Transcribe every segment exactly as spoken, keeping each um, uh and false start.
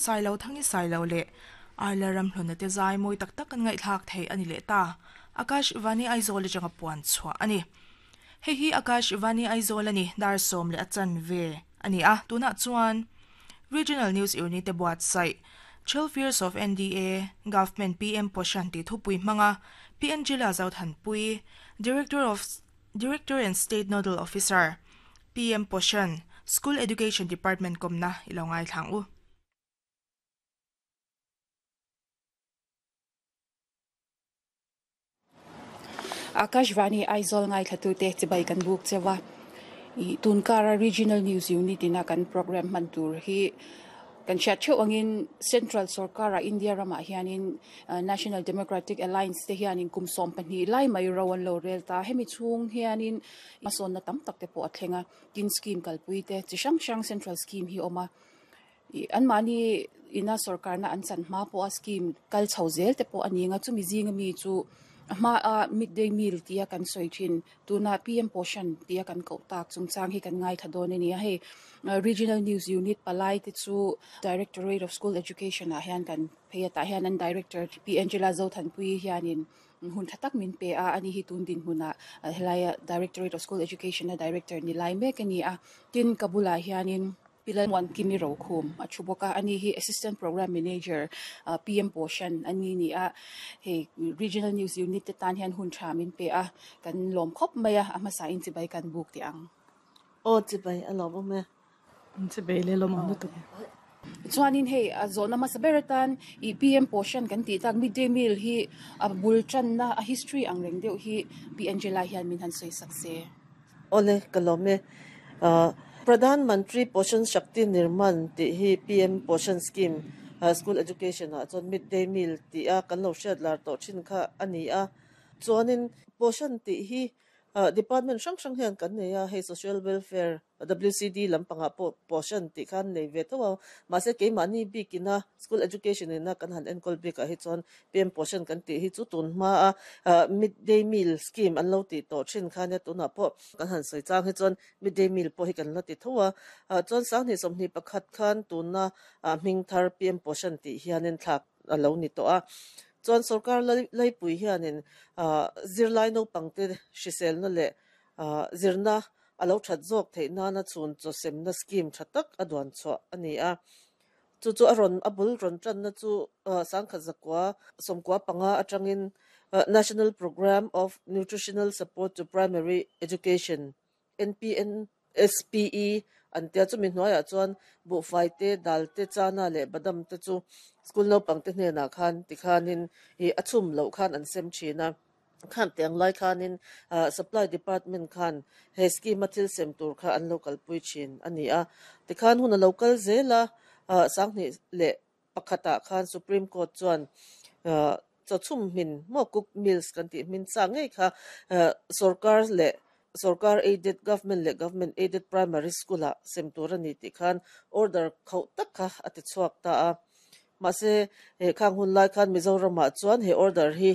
Sailo Thangi Sailo leh Arla Ramhluna te zai mawi tak tak kan ngaihthlak thei a ni leh ta. Akashvani Aizawl atanga puan chhuah a ni. Hei hi Akashvani Aizawl a ni, dar sawm leh a chanve a ni a, tunah chuan Regional News Unit te buatsaih Twelve Years of N D A Government P M Poshan tih thupui hmanga P Angela Zothanpui, Director of Director and State Nodal Officer, P M Poshan, School Education Department kawmna i lo ngaithlang u. Akashvani Aizawl ngaithlatute chibai kan buk chewa. I tunkara Regional News Unit ina kan program hman tur hi kan hriat theuh angin Central Sarkara India ramah hianin National Democratic Alliance te hianin kum sawm pahnih lai mai ro an lo rel ta. Hemi chhung hianin hmasawnna tam tak te pawh a thleng a, tin scheme kalpui te chi hrang hrang central scheme hi awm a. An mahni ina sarkarna an chan hma pawh a scheme kal chho zel te pawh a ni anga, chumi zinga mi chu a hma a midday meal tia kan sawi thin, tuna P M Poshan tia kan koh tak chungchang hi kan ngaithla dawn a ni a. Hei Regional News Unit palai te chu Directorate of School Education ah hian kan phei atah hian an Director P Angela Zothanpui hianin hun tha tak min pe a. Ani hi tun dinhmunah helaia Directorate of School Education a Director ni lai mek a ni a. Tin, ka bulah hianin Pi Lalmuankimi Rokhum a thu bawk a, ani hi Assistant Program Manager, P M Poshan ani ni a. Hei Regional News Unit te tan hian hun tha min pe a, kan lawm khawp mai a. A hmasa in chibai kan buk teh ang. Aw, chibai, a lawm awm e. Chibai le, lawm awm lutuk. Chuanin hei a zawhna hmasa ber atan i P M Poshan kan tih tak midday meal hi a bul tanna a history ang reng deuh hi Pi Angela hian min han sawi sak se. Ole, ka lawm e. Pradhan Mantri Poshan Shakti Nirman tih hi P M Poshan scheme, school education ah chuan midday meal tih a kan lo hriat lar tawh thin kha a ni a. Chuanin Poshan tih hi department hrang hrang hian kan nei a, hei social welfare, W C D lampangah pawh Poshan tih khan nei ve tho a, mahse keimahni bikina school education ina kan han enkawl bikah hi chuan P M Poshan kan tih hi chu tun hma a midday meal scheme an lo tih tawh thin khan nia, tunah pawh kan han sawi chang hi chuan midday meal pawh hi kan la ti tho a. Chuan sanghnih sawmhnih pakhat khan tuna hming thar P M Poshan tih hianin thlak a lo ni tawh a. Chuan sarkar laipui hianin zirlai naupangte hriselna leh zirna a lo that zawk theih nana chhun chaw semna scheme tha tak a duan chhuah a ni a. Chu chu a rawn a bul rawn tanna chu sangkhat zakua sawmkua panga atangin National Programme of Nutritional Support to Primary Education, N P N S P E an tia. Chumi hnuaiah chuan buhfai te, dal te, chana leh badam te chu school naupangte hnenah khan tikhanin ih a chhum loh khan an sem thin a. Khan tiang lai khanin supply department khan he scheme a thil sem tur kha an lo kalpui thin a ni a. Tikhan hun a lo kal zel a, sanghnih leh pakhatah khan Supreme Court chuan chaw chhum hmin maw, cook meals kan tih hmin sa ngei kha sarkar leh sarkar aided, government leh government aided primary school ah sem tur a ni tih khan order khauh tak kha a ti chhuak ta a. Mahse he khang hun lai khan Mizoramah chuan he order hi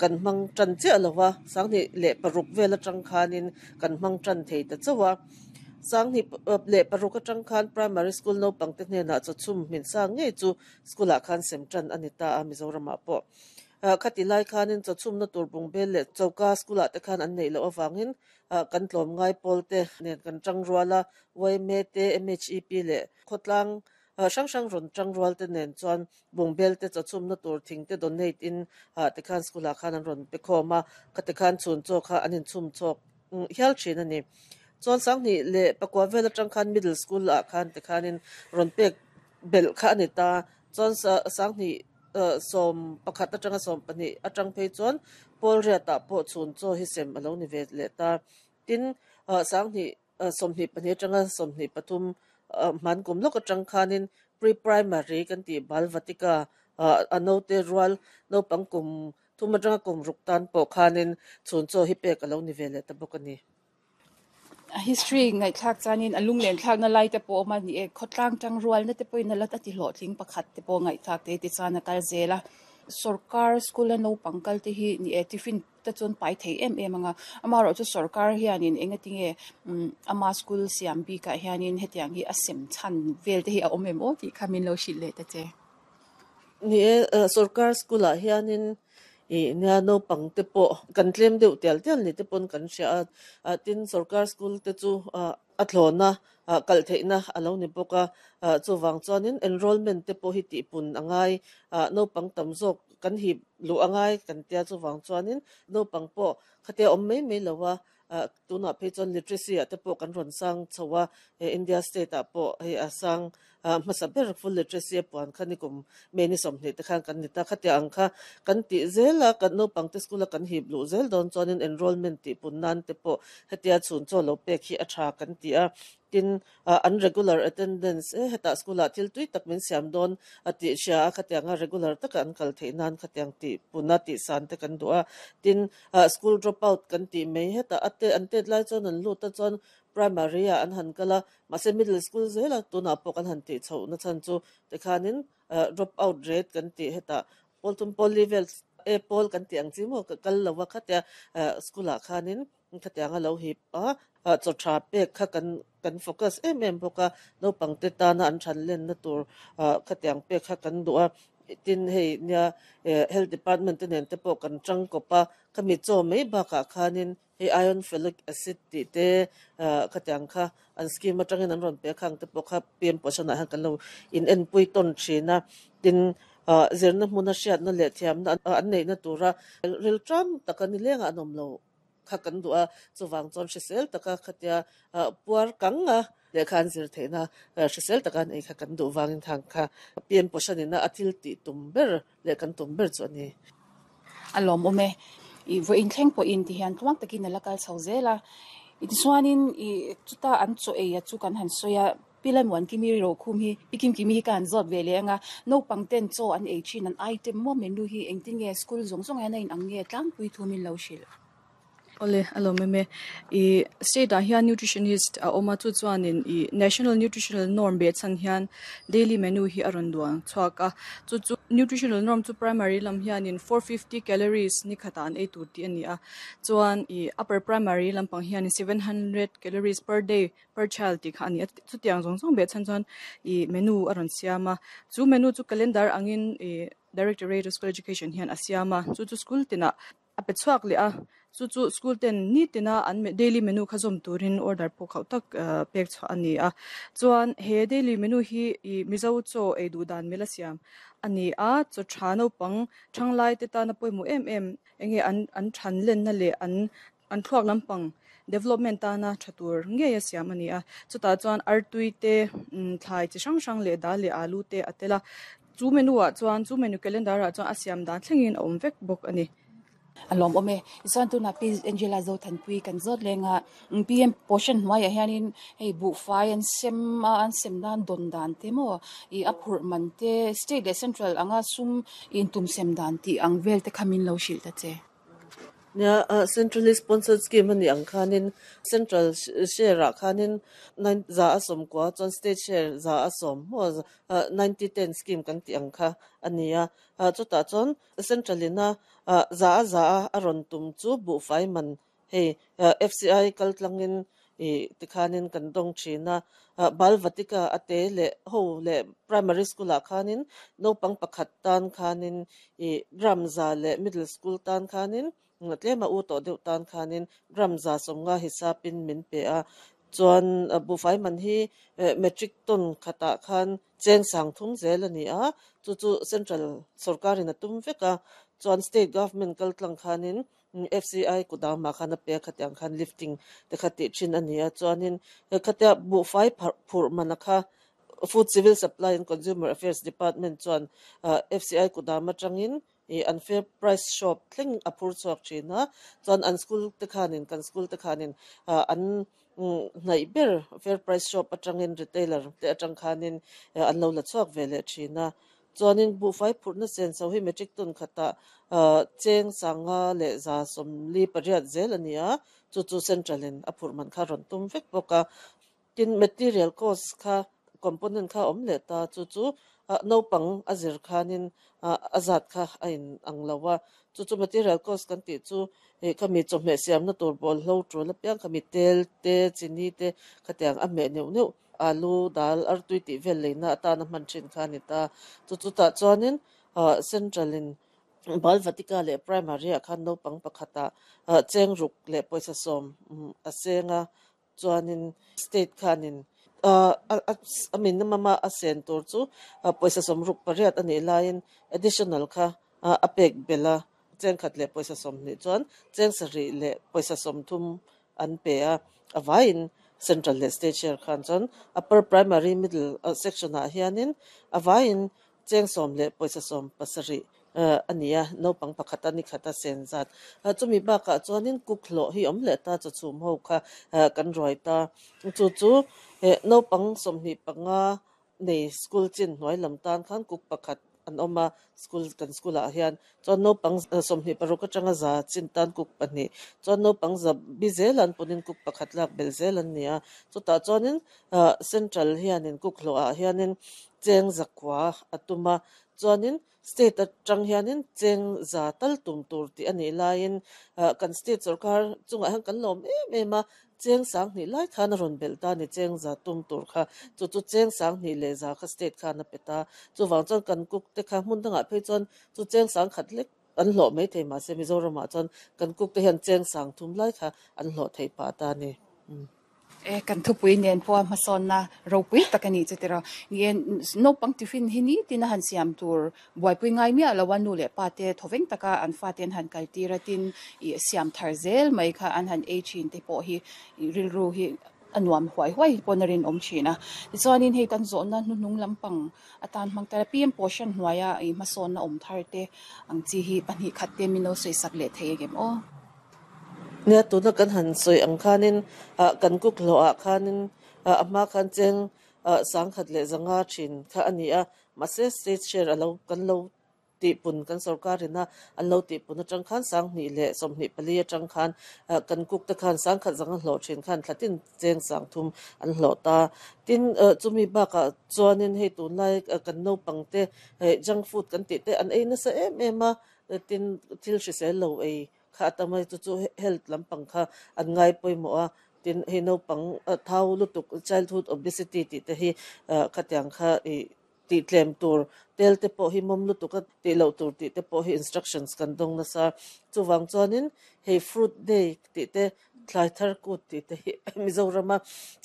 kan hmang tan chiah lova, sanghnih leh paruk vel atang khanin kan hmang tan thei ta chauh a. Sanghnih leh paruk atang khan primary school naupangte hnenah chaw chhum hmin sa ngei chu school ah khan sem tan a ni ta a Mizoramah pawh. Khati lai khanin chaw chhumna tur bungbel leh choka school ah te khan an neih loh awangin kan tlawm ngai pawl te nen kan tang rual a, Y M A te, M H E P leh khawtlang hrang hrang rawn tang rual te nen chuan bungbel te, chaw chhumna tur thing te donate in te khan school ah khan an rawn pe khawm a. Khati khan chhun chaw kha an inchhum chawk hial thin a ni. Chuan sanghnih leh pakua vel atang khan middle school ah khan te khanin rawn pek belh kha a ni ta. Chuan sanghnih sawm pakhat atanga sawm pahnih atang phei chuan pawl riatah pawh chhun chaw hi sem a lo ni ve leh ta. Tin, sanghnih sawmhnih pahnih atanga sawmhnih pathum hman kum lawk atang khanin pre-primary kan tih Bal Vatika, a naute rual naupang kum thum atanga kum ruk tan pawh khanin chhun chaw hi pek a lo ni ve leh ta bawk a ni. A history ngaihthlak chuanin a lunglen thlakna lai te pawh awm a ni e. Khawtlang tang rualna te pawhin a la a ti hlawhtling pakhat te pawh ngaihthlak te ti chuan a kal zel a. Sarkar school a naupang kal te hi ni e tiffin te chuan pai thei em em anga ama ro chu sarkar hianin enga tinge ama school siam bi ka hianin hetiang hi a sem chan vel te hi a awm em o ti khamin lo shil le ta che. Ni e, sarkar school ah hianin i nia no pang te po kan tlem deuh tial tial ni te pon kan hria a. Tin sarkar school te chu a thlona kal theihna alo ni bawk a. Chuwang chuanin enrollment te pawh hi tih pun angai, naupang tam zawk kan hip lu angai kan tia. Chuwang chuanin naupang pawh khatia awm mai mai lo a, tunah phei chuan literacy ah te pawh kan rawn sang chho a. India state ah pawh hei a sang hmasa ber full literacy a puan kha ni kum me ni sawmhnih te khan kan ni ta. Khatia ang kha kan tih zel a, kan naupang te school a kan hip lu zel dawn chuanin enrollment tih pun nan te pawh hetia chhun chaw lo pek hi a tha kan ti a. Tin an regular attendance e heta school ah thil tui tak min siam dawn a ti hria a, khatianga regular taka an kal theih nan khatiang ti puna ti san te kan duh a. Tin school drop out kan ti mai, heta ate an tet lai chuan an lut a, chuan primary a an han kala mahse middle school zela tunah pawh kan han ti chho na chan chu tikhanin drop out rate kan ti heta pawl tum pawl level e pawl kan ti ang chi mo kal lowa khatia school ah khanin khatianga lo hip a chaw tha pek kha kan kan focus em em bawk a. Naupang te tana an than len na tur khatiang pek kha kan duh a. Tin hei nia health department te nen te pawh kan tang kawp a, khami chaw mai bakah khanin hei iron folic acid tih te khatiang kha an scheme atangin an rawn pe khang te pawh kha P M Poshan ah hian kan lo in en pui tawn thin a. Tin zirna hmuna hriatna leh thiamna an neihna tura ril tram taka ni lenga an awm lo kha kan duh a. Chuwang chuan hrisel taka khatia puar kang a lehkha an zir theihna hrisel taka an ei kha kan duh wangin thang kha P M Poshan ina a thil tih tum ber leh kan tum ber chu ani. Alom ome i vo in thleng pawh in ti hian tluang takin ala kal chho zela. Tichuanin i chuta an chaw ei a chu kan han sawi a, pilan wan kimi ro khum hi pikim kimi hi kan zawt ve le anga naupang ten chaw an ei thin an item mo menu hi engtin nge, school zawng zawng hian a in ang nge, tlangpui thu min lo hrilh? Ole alo meme i state ah hian nutritionist a awma, chu chuanin i national nutritional norm be chan hian daily menu hi a rawn duang chhuak a. Chu chu nutritional norm chu primary lam hianin four fifty calories ni khata an ei tur tih ani a, chuan i upper primary lampang hianin seven hundred calories per day per child tih kha ani a. Chutiang zawng zawng be chan chuan i menu a rawn siam a. Chu menu chu calendar angin i Directorate of School Education hian a siam a, chu chu school tinah a pe chhuak leh a. Chu chu school ten ni tina an daily menu kha zawm turin order pawh khauh tak pek chhuah ani a. Chuan he daily menu hi i Mizo chaw ei duh dan mela siam ani a. Chaw tha naupang thanglai te tana pawimawh em em enge an an than len na leh an an thluak lampang development tana tha tur ngei a siam ani a. Chutah chuan artui te, thlai chi hrang hrang leh dal leh alu te a tel a. Chu menu ah chuan, chu menu calendar ah chuan a siam dan thlengin a awm vek bawk ani. Alom ome chuan tuna Pi Angela zo thanpui kan zawt lenga. P M Poshan hnuaiah hianin hei buhfai an sem a, an sem nan dawn dan te maw i a phurh man te, state leh central anga sum in tum sem dan tih ang vel te khamin lo hrilh ta che. Nia, centrally sponsored scheme ani ang khanin central share ah khanin nine za a sawm kwa, chuan state share za a sawm mo, ninety ten scheme kan ti ang kha ani a. Chutah chuan central ina za a za a rawn tum chu buhfai man hei F C I kal tlangin i tikhanin kan dawng thin a. Balvatika ate leh ho leh primary school ah khanin naupang pakhat tan khanin i gram za leh middle school tan khanin tlema u tawh deuh tan khanin gram za sawmnga hisapin min pe a. Chuan buhfai man hi metric ton khatah khan cheng sang thum zel ani a. Chu chu central sarkarin a tum vek a, chuan state government kal tlang khanin F C I kudama khan a pe khatiang khan lifting te kha tih thin ani a. Chuanin khatia buhfai phurh man a kha Food Civil Supply and Consumer Affairs Department chuan F C I kudam atangin i an fair price shop thleng a phur chhuak thin a. Chuan an school te khanin, kan school te khanin an hnaih ber fair price shop atangin retailer te atang khanin an lo la chhuak ve leh thin a. Chuanin buhfai phurhna sen so hi metric ton khata cheng sanga leh za sawmli pariat zel ani a. Chu chu central in a phurh man kha rawn tum vek bawk a. Tin material cost kha component kha awm leh ta, chu chu Naupang a zir khanin a zat kha a in ang lo a. Chu chu material cost kan tih chu hei khami chawhmeh siamna tur bawlhlo tul apiang khami tel te chini te khatiang a hmeh neuh neuh alu dal artui tih vel leina atana hman thin kha ani ta. Chu chutah chuanin central in Balvatika leh primary ah khan naupang pakhatah cheng ruk leh pawisa sawm a senga chuanin state khanin a minimum a sen tur chu pawisa sawm ruk pariat anih laiin additional kha a pek bela cheng khat leh pawisa sawm hnih chuan cheng sarih leh pawisa sawm thum an pe a a vaiin central leh state share khan chuan upper primary middle section ah hianin a vaiin cheng sawm leh pawisa sawm pasarih ani a naupang pakhat ani khat a sen zat. Chumi bakah chuanin cook hlawh hi awm leh ta chaw chhum ho kha kan ruai ta. Chu chu naupang sawmhnih panga nei school chin hnuai lam tan khan cook pakhat an awm a school kan school ah hian chuan naupang sawmhnih paruk atanga za chin tan cook pahnih chuan naupang za bi zel an punin cook pakhat lak bel zel an ni a. Chutah chuanin central hianin cook hlawh ah hianin cheng zakua a tum a chuanin state atang hianin cheng za tal tum tur tih anih laiin kan state sorkar chungah hian kan lawm em em a cheng sang hnih lai khan a rawn belh ta ni cheng za tum tur kha chu chu cheng sang hnih leh za kha state khan a pe ta. Chuvang chuan kan cook te kha hmun dangah phei chuan chu cheng sang khat lek an hlawh mai thei mahse Mizoramah chuan kan cook te hian cheng sang thum lai kha an hlawh thei pah ta ni. E kan thupui nen pawh hmasawnna ropui tak ani chu tiraw ni naupang tiffin hi ni tin a han siam tur buaipui ngai miah lo a nu leh pa te thawveng taka an fa te an han kal tir a tin ih siam thar zel mai kha an han ei thin te pawh hi rilru hi a nuam huai huai pawn a rin awm thin a. Tichuanin hei kan zawhna hnuhnung lampang atan hmang tara P M Poshan hnuaia ih hmasawnna awm thar te ang chi hi pahnih khat te min lo sawi sak leh thei angem aw. Nia tuna kan han sawi ang khanin kan cook hlawh ah khanin a hma khan cheng sang khat leh zanga thin kha ani a mahse state share alo kan lo tihpun kan sorkarina an lo tihpun atang khan sang hnih leh sawmhnih pali atang khan kan cook te khan sang khat zanga hlawh thin khan thlatin cheng sang thum an hlawh ta. Tin chumi bakah chuanin hei tunlai kan naupang te junk food kan tih te an ei nasa em em a tin thil hrisel lo ei kha atamai chu chu health lampang kha an ngai pawimawh a. Tin hei naupang thau lutuk childhood obesity tih te hi khatiang kha ih tih tlem tur tel te pawh hi mawm lutuk a tih loh tur tih te pawh hi instructions kan dawng nasa. Chuvang chuanin hei fruit day tih te thlai thar kut tih te hi Mizorama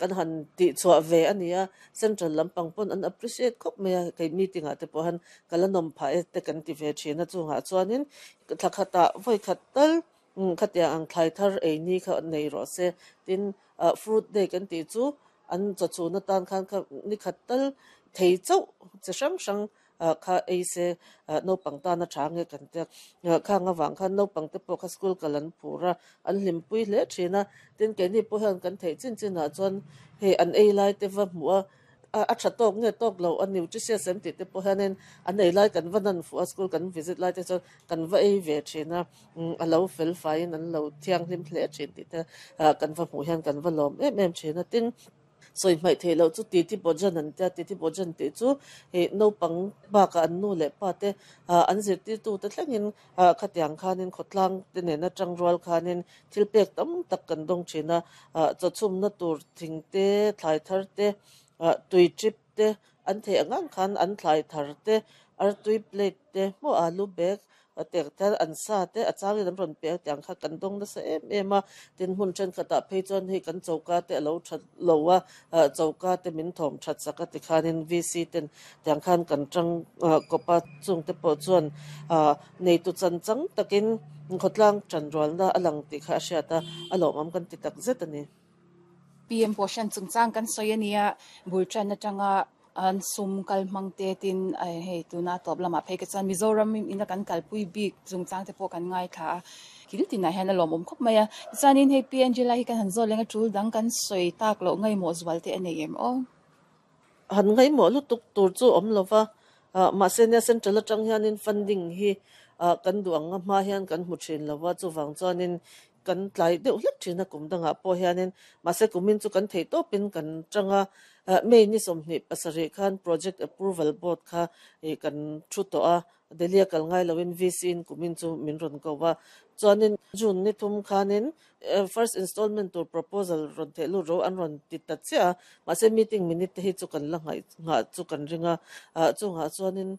kan han tih chhuah ve ani a central lampang pawn an appreciate khawp mai a kei meeting ah te pawh han kala nawm phah e te kan ti ve thin a chungah chuanin thla khatah vawi khat tal khatiang ang thlai thar ei ni kha nei rawh se. Tin fruit day kan tih chu an chaw chhun atan khan kha ni khat tal thei chauh chi hrang hrang kha ei se naupang tana tha nge kan te khang awang khan naupang te pawh kha school kal an phur a an hlimpui hle thin a. Tin keini pawh hian kan theih chin chinah chuan hei an ei lai te va hmuh a a tha tawk nge tawk lo a nutritious em tih te pawh hianin an ei lai kan va nan fuh a school kan visit lai te chuan kan va ei ve thin a a lo fel faiin an lo thianghlim hle thin tih te kan va hmuh hian kan va lawm em em thin a. Tin sawi hmaih theih loh chu titi bawjan an tia titi bawjan tih chu hei naupang bakah an nu leh pa te an zirtirtu te thlengin khatiang khanin khawtlang te nena tang rual khanin thil pek tam tak kan dawng thin a chaw chhumna tur thing te thlai thar te tui trip te an theih angang khan an thlai thar te artui plate te hmuh alu bag tek thar an sa te a changin an rawn pe tiang kha kan dawng nasa em em a. Tin hmun thenkhatah phei chuan hei kan choka te alo that lo a choka te min thawm that sak a tikhanin V C ten tiang khan kan tang kawpa chung te pawh chuan nei tu chan chang takin khawtlang tan rualna a lang tih kha a hriat a a lawmawm kan ti tak zet ani. P M Poshan chungchang kan sawi ania bultan atanga an sum kal hmang te tin hei tuna tawp lamah phei ka chuan Mizoram ina kan kalpui bik chungchang te pawh kan ngai thla a kil tinah hian a lawmawm khawp mai a. Tichuanin hei P Angela hi kan han zawt lenga tul dang kan sawi tak loh ngaimawh zual te a nei em aw. Han ngaimawh lutuk tur chu awm lova mahse nia central atang hianin funding hi kan duh ang a hma hian kan hmu thin lova chuvang chuanin Kan tlai deuh hlek thin a kum dangah pawh hianin mahse kumin chu kan thei tawpin kan tanga May ni sawmhnih pasarih khan project approval board kha kan thu tawh a Delhi a kal ngai loin V C in kumin chu min rawn ko a chuanin June ni thum khanin first installment tur proposal rawn theh lut ro an rawn ti ta chiah a mahse meeting minute te hi chu kan la ngaih ngah chu kan ringa chungah chuanin.